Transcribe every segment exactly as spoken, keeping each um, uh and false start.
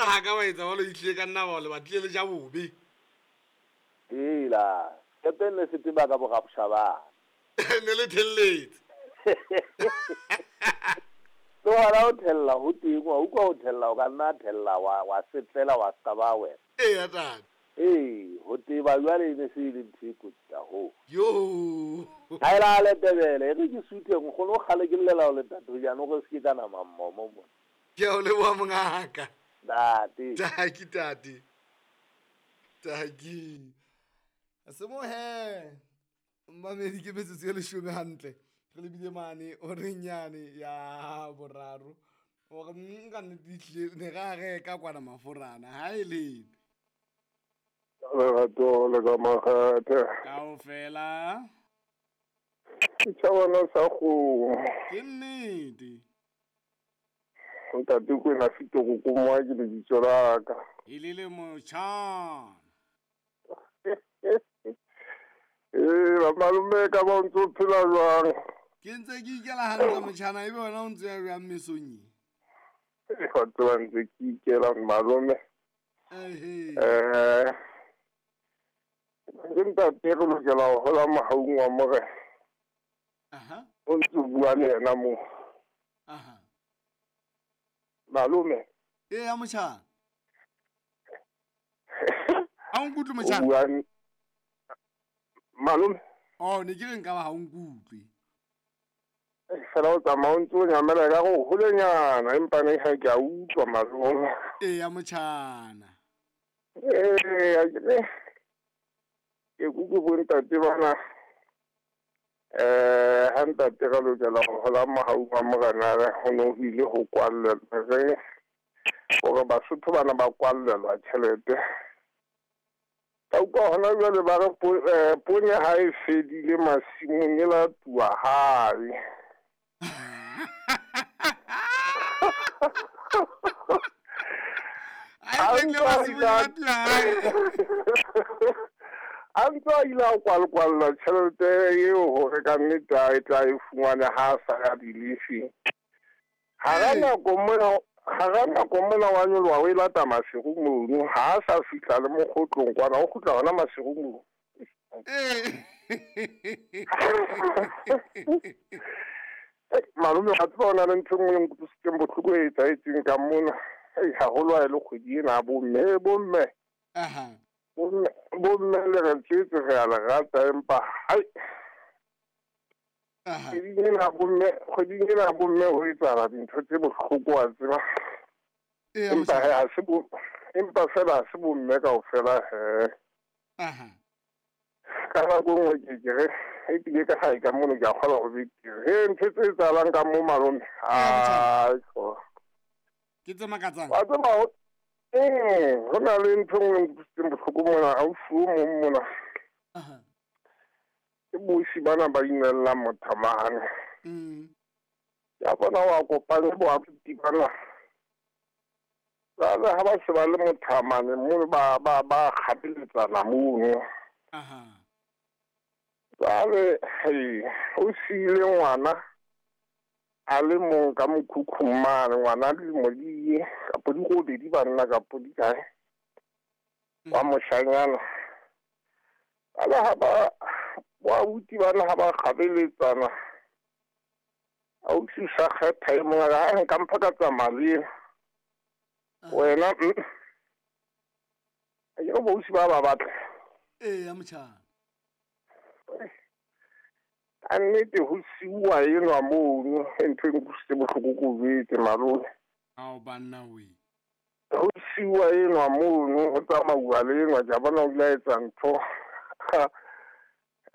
ha ka wa etsa jwalo ehlile ka nna ba le batlile le ja bobe. Hela, sekepe ne se teba ka borapshabana. Ne le thelletse. Le hona ho thella ho teng, wa utlwa ho thella o ka nna thella wa wa setlela wa ska ba wena. Eya tate. Ee, ho teba jwale e ne se e le ntho e kotsi haholo. Yo. Ha e la Letebele, e re ke suthe nkgono o kgale ke llela ho le ntate hojane hore se ke ka nama mmomo mona. Ke a o leboha mongaka. Ntate. Taki tate. Taki. Semohe. Mamedi ke metsotso e leshome hantle. Re lebile mane oreng yane ya boraro. Hore nka nnete ehlile ne ra reka kwana maforana ha e lebe. Lerato le ka makgethe. Kaofela. Setjhabana sa kgomo. Ke nnete. Ntate Kwena Fitoko Komoa ke lebitso la ka. E le le motjhana. Ee, ba malome ka ba o ntso phela jwang? Ke ntse ke ikela hantle motjhana, ebe wena o ntse ya jwang mesong e? Ee, wa tseba ntse ke ikela malome. Ehe. Eh, ke ntate re lokela ho hola mohaung wa Morena. Aha. O ntse o bua le yena moo. Aha. Malome. Eya motjhana. Ha o nkutlwe O motjhana? bua malome. Oh, ne ke re nka ba ha o nkutlwe. Fela o tsamaya o ntse o nyamela ka go holenyana empa ne ha ke a utlwa malome. Eya motjhana. Ee, a ke ne ke kuku bo ntate bana. Eh, ha ntate re lokela ho hola mohaung wa Morena re ho no ho ile ho kwallelwa re hore Basotho bana ba kwallelwa tjhelete. Ka utlwa hona jwale ba re po- eh, poone ha e fedile masimong e latuwa hae. Ha e fedile masimong e latuwa hae. A ntse a ile a kwalkwalla tjhelete eo hore ka nnete a e tla e fumane ha a sa ya dilifing. Hara Ee. nako mona, hara nako mona wa nyoloha o e lata Maseru mono, ha a sa fihla le mokgotlong kwana, o kgutla hona Maseru mono. Ee. Ei, malome wa tseba ho na le ntho e nngwe e nkutlwisitseng bohloko e etsahetseng ka mona. Ei, haholo ha e le kgwedi ena ya bomme, bomme. Aha. Bomme, bomme le re tswetse re a le rata empa hai. Aha. Kgweding ena ya bomme, kgweding ena ya bomme ho etsahala dintho tse bohloko wa tseba. Eya Empa motjhana. he, ha se bo, empa fela ha se bomme kaofela he. Aha. Ka nako e nngwe ke ke re, ebile ka hae ka mono ke a kgolwa ho betere. He, ntho tse etsahalang ka mo malome. Eya motjhana. Ai, tlo. Ke tse makatsang. Wa tseba ho, ee, ho na le ntho e nngwe e nkutlwisitseng bohloko mona, ausi o mong mona. Aha. Ke bosi bana ba inellang mothamane. Mm. Ya bona wa kopane bo abuti bana. Jwale ha ba se ba le mothamane mono ba ba ba kgapeletsana mono. Aha. Jwale, hei, o siile ngwana a le mong ka mokhukhung mane, ngwana dilemo di kapo di robedi banna kapo di kae, wa moshanyana. Jwale ha ba bo abuti bana ha ba kgabeletsana, ausi o sa kgetha e mong a re, "Hai, nka mpha ka tsamaya le ena." Wena, mm. Akere bo ausi ba ba batla. Eya motjhana. Ka nnete ho siuwa enwa mono, e ntho e nkutlwisitse bohloko ko jwetse malome. Ao banna we. Ho siuwa enwa mono, ho tsamauwa le enwa, ke a bona o ile a etsa ntho.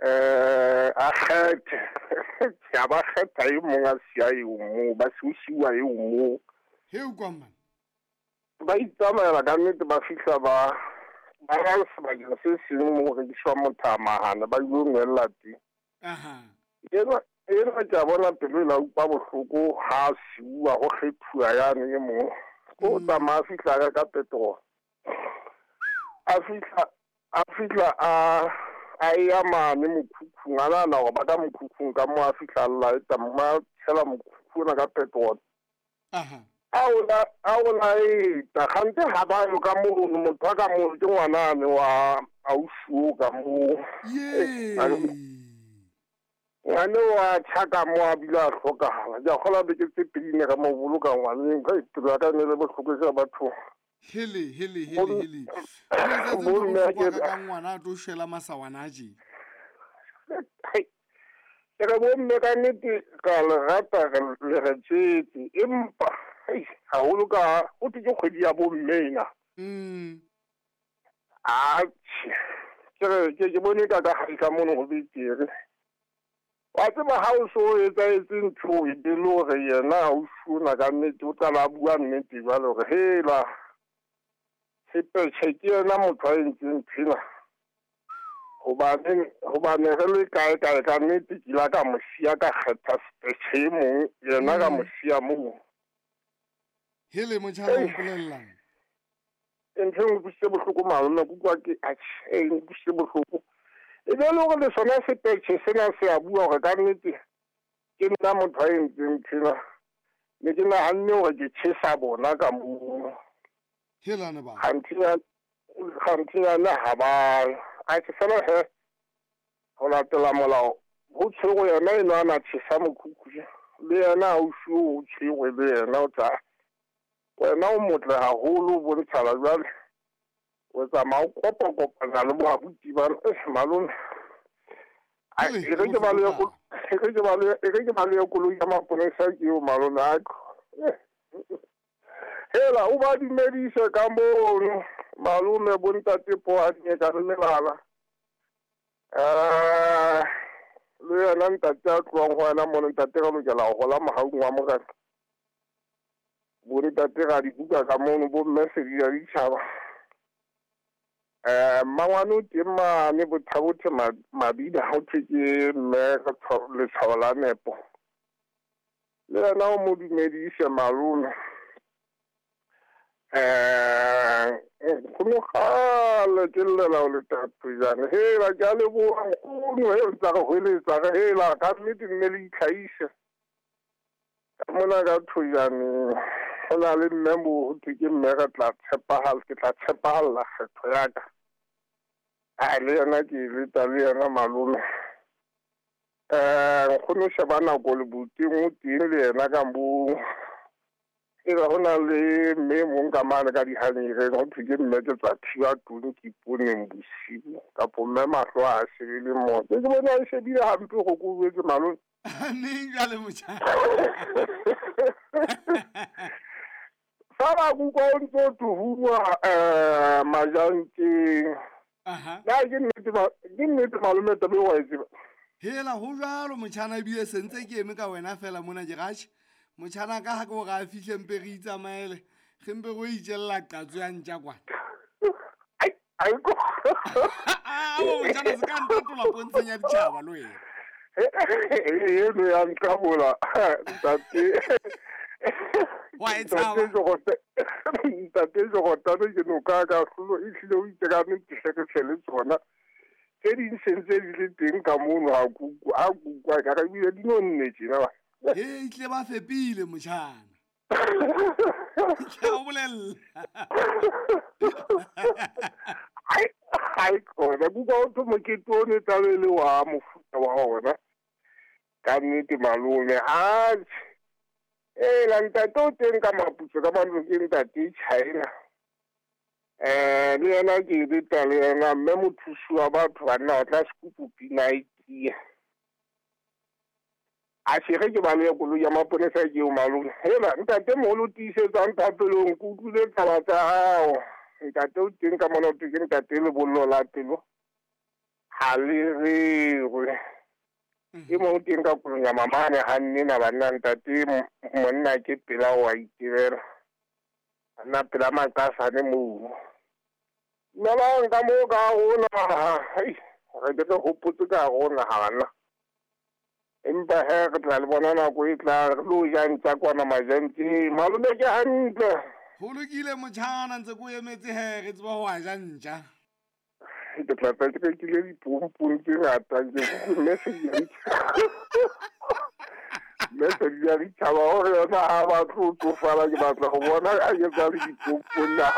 Eh, a kgethe. Ke a ba kgetha e mong a siya eo moo, ba se ho siuwa eo moo. He o kwang man? Ba itsamaela ka nnete ba fihla ba ba ya sebakeng se seng moo ho rekiswang mothamahane, ba ilo nwella teng. Aha. Enwa, enwa ke a bona pelo e la utlwa bohloko ha a siuwa ho kgethuwa yane e mong. Ko Mm. tsamaya a fihla a reka petrol. A fihla, a fihla a, a ya mane mokhukhung, a nahana hore ba ka mokhukhung ka moo a fihla a laeta, mme a tshela mokhukhu ona ka petrol. Aha. A o la a o laeta gante ga ba yo ka mono motho wa ka mo ke ngwanane wa ausi o ka moo. Ye. Ngwane wa tšha mo a bile a hlokagala. Ke a kgolwa beke tse pedi ne ka mo boloka ngwaneng ka pelo ya ka ne le bohloko ja batho. Hele hele hele hele. Bo mme ka ngwana a tlo shwela masawana a je. Ke re bo mme ka nnete ka le rata le re tsetse empa haholo ka o thwe ke kgwedi ya bo mme ena. Mm. Atjhe. Ke re ke ke bone ka ka gae ka mono go betere. Wa tseba ha o so etsahetse ntho e be le hore yena ausi ona ka nnete o qala a bua nnete jwale hore hela Sepetjhe ke yena motho a entseng nthwena. Hobane hobane re le kae kae ka nnete ke ile ka mo siya ka kgetha Sepetjhe e mong yena ka mo siya moo. Hele motjhana o mpolellang. Ntho e nkutlwisitse bohloko malome ke utlwa ke atjhe e nkutlwisitse bohloko. E be le hore le sona Sepetjhe sena se a bua hore ka nnete ke nna motho a entseng nthwena. Ne ke nahanne hore ke tjhesa bona ka moo. Helane ba. Ganthinyane ha ba atjhe fela he ho latela molao ho tshwerwe yena eno a na tjhesa mokhukhu le yena ausi o tshwerwe le yena o tla wena o motle haholo o bontshala jwale o tsamaya o kopa-kopana le boabuti bana malome. E re ke balehe e re ke balehe e re ke balehe koloi ya maponesa ke eo malome a hela o ba dumedise ka mono malome bo ntate Poadinye ka le melala. Eh le yena ntate a tlohang ho wena mono ntate re lokela ho hola mohaung wa morena. Bo ntate ra dibuka ka mono bo mme sedi ya ditjhaba. Eh mmangwane o teng mane Bothabothe Mabida ho thwe ke mme letshwao la nepo. Le yena o mo dumedise malome. Eh nkgono kgale ke llela ho le tatojane hela ke a leboha nkgono he o ntsa re hweletsa re hela ka nnete mme le itlhahise. Ka mona ka Thojaneng ho na le mme moo ho thwe ke mme re tla tshepahala ke tla tshepahalla kgetho ya ka. A le yena ke e leta le yena malome. Eh nkgono sheba nako le boteng o teng le yena ka moo. E re ho na le mme mong ka mane ka dihaneng ho thwe ke mme ke tla thiba tlung ke iponeng bosiu kapo mme mahlo a shebile mo. Ke bona a shebile hampe go ko jwetse malome. Neng jwale motjhana. Fa ba kuka o ntso tuhuwa eh majanteng. Aha. Na ke nnete ke nnete malome taba e wa e tseba. Hela ho jwalo motjhana ebile se ntse ke eme ka wena fela mona ke ratjhe. Motjhana ka ha ke hore a fihle mpe re itsamaele re mpe re itjella qatso ya ntja kwana. Ai ai ko. A motjhana se ka ntatola pontsheng ya ditjhaba le wena. Eno ya nqabola ntate. Wa e tshaba. Ntate Jogotane ke noka ka hlolo e hlile o itse ka nnete hle re tle le tsona. Tse ding se ntse di le teng ka mono ha kuku ha kuku ka re ebile di nonne tjena ba. He itle ba fepile motjhana. Ke o bolella. Ai ai kona kuka o thwe mokete o ne tlabe le wa mofuta wa ona. Ka nnete malome atjhe. Hela ntate o teng ka maputso ka mantlong ke ntate China. Eh le yena ke leta le yena mme mothusi wa batho banna o tla sekupu pina e tiya. Atjhe re ke balehe koloi ya maponesa ke eo malome. Hela ntate moholo o tiisetsang thapelong ke utlwile taba tsa hao. Ntate o teng ka mona ho thwe ke ntate lebollo la pelo. Ha le rerwe. E mong o teng ka kolong ya mamane ha nnena banna ntate monna ke pela wa itebela. Nna pela maqasane moo. Dumelang ka moo ka rona. Re ke re hopotse ka rona ha Empa he re tla le bona nako e tla re lo ja ntja kwana majanteng. Malome ke hantle. Ho lokile motjhana ntse ko emetse he re tseba ho a ja ntja. Ke tla tla ke rekile dipompong tse ngata ke mme se ke. Mme Sedi ya Ditjhaba o re yona ha batle ho tsofala, ke batla ho bona a etsa le dipompong na.